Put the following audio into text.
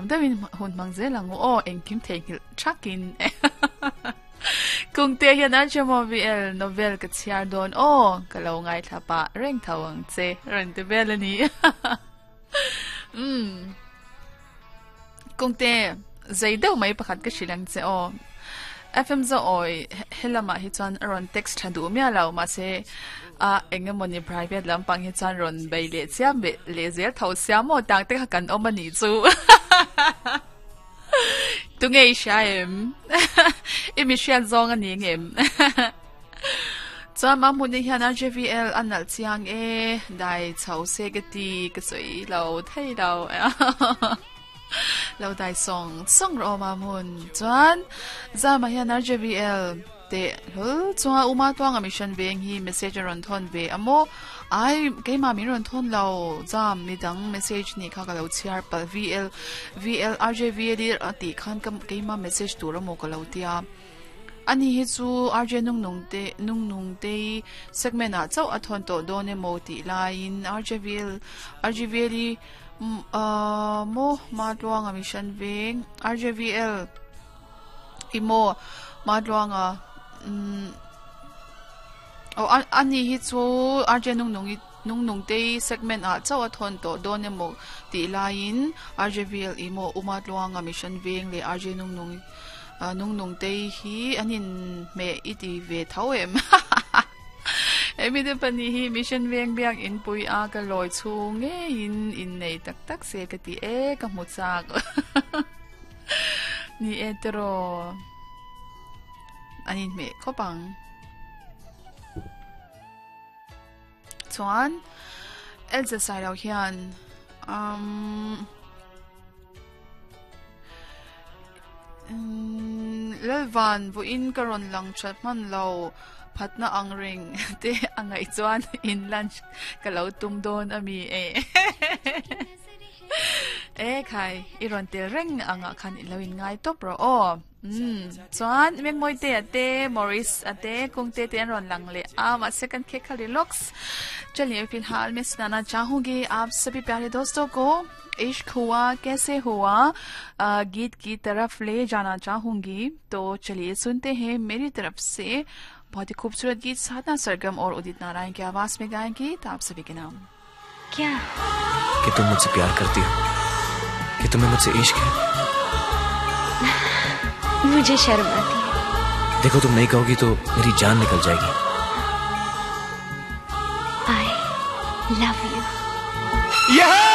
Deuhin hun hmang zel ang u aw, engkim theihnghilh thakin. Kungte hian an hre maw VL novel ka chhiar dawn aw, ka lo ngaithla pah reng tho ang che rawn ti vel a ni. Umm. Kungte, zei deuh mai pakhat ka hrilh ang che aw. FM Zawi helamah hi chuan a rawn text tha duh miah lo mahse a eng emawni private lampang hi chuan rawn bei leh chiam leh leh zel tho sia maw tang te kha kan awm a nih chu tunge i hria em i mi hriat zawng a ni ngem chuan mahmuni hian RJVL a nalh chiang e dai chho se ka ti ka sawi lo thei lo. Lo dai sawng sawng rawh aw Mahmun. Chuan Zama hian RJVL teh hlawl chunga Uma Tuanga Mission veng hi message a rawn thawn ve a maw? Ai, keimah min rawn thawn lo Zam, midang message nih kha ka lo chhiar palh VL VL RJVL i a tih khan ka keimah message tur a maw ka lo tia. Ani hi chu RJ Nungnung te Nungnung tei segment ah chauh a thawn tawh dawn emaw tih laiin RJVL RJVL i Ahh maw Matluanga Mission Veng RJVL i maw Matluanga umm aw a ni hi chu RJ Nungnungi Nungnung te segment ah chauh a thawn tawh dawn emaw tih laiin RJVL i maw U Matluanga Mission Veng leh RJ Nungnungi Nungnung te hi an inhmeh i ti ve tho em hahaha. Hemi te pahnih hi Mission Veng biak inpui a ka lawi chhung ngeiin innei tak tak se ka ti e ka hmu chak ni e tiraw an inhmeh khawp ang. Chuan Elza Sailo hian umm Lalvan vawiin ka rawn lang that hman lo phatna ang reng te a ngaih chuan in lunch ka lo tum dawn a mi e e khai i rawn tel reng angah khan i lo in ngai tawp rawh aw. Umm chuan Mengmawite a te Maurice a te Kungte te an rawn lang leh a mahse kan khek kha relax चलिए फिलहाल मैं सुनाना चाहूंगी आप सभी प्यारे दोस्तों को इश्क हुआ कैसे हुआ गीत की तरफ ले जाना चाहूंगी तो चलिए सुनते हैं मेरी तरफ से बहुत ही खूबसूरत गीत साधना सरगम और उदित नारायण की आवाज में गाएंगी तो आप सभी के नाम क्या कि तुम मुझसे प्यार करती हो कि तुम्हें मुझसे इश्क है मुझे शर्म आती है देखो तुम नहीं कहोगी तो मेरी जान निकल जाएगी I love you yeah!